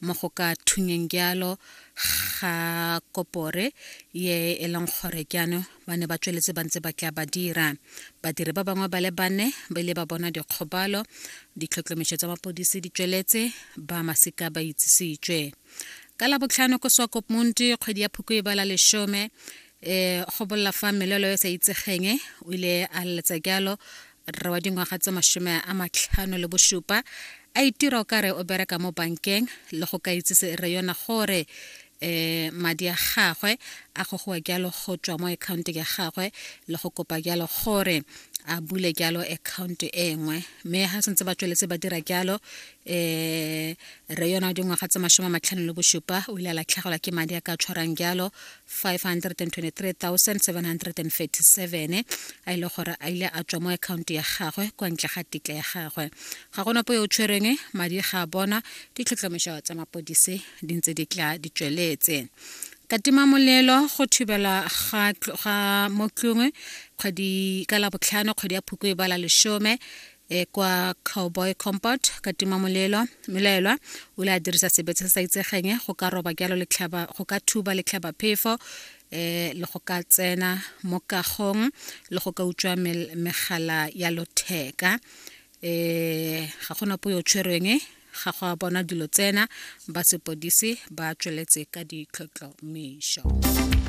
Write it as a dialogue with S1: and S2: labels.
S1: mo go ka thunyeng jalo ga kopore ye e leng gore jaanong ba ne ba tsweletse ba ntse ba tla ba dira. Badiri ba bangwe ba le bane ba ile ba bona dikgobalo, ditlhotlhomišo tsa mapodisi di tsweletse, ba masika ba itsisitswe. Ka Labotlhano ko Swakopmund kgwedi ya Phukwi e bala lesome go bolela fa melelo e sa itsegeng o ile a leletsa jalo rre wa dingwaga tse 57 a itira o kare o bereka mo bankeng le go ka itsise rre yona gore madi a gagwe a gogowa jalo go tswa mo account ya gagwe le go kopa jalo gore a bule jalo account e nngwe. Mme ha sentse ba tsweletse ba dira jalo, rre yona wa dingwaga tse 57 o ile a latlhegelwa ke madi a ka tshwarang jalo 523,737 a ile gore a ile a tswa mo account ya gagwe kwa ntle ga tetla ya gagwe. Ga gona po yo o tshwereng madi ga a bona, ditlhotlhomišo tsa mapodisi di ntse di tla di tsweletse. Ka tima molelo go thubelwa ga ga mo tlung kgwedi ka la botlhano kgwedi ya Phukwi ba la lesome e kwa Cowboy Compound ka tima molelo. Melaelwa o ile a dirisa sebetsa se sa itsegeng go ka roba jalo letlhaba go ka thuba letlhaba phefo le go ka tsena mo kagong le go ka utswa megala ya lotheka. Ga gona po yo tshwerweng, ga go a bona dilo tsena, ba sepodisi ba tsweletse ka ditlhotlhomišo.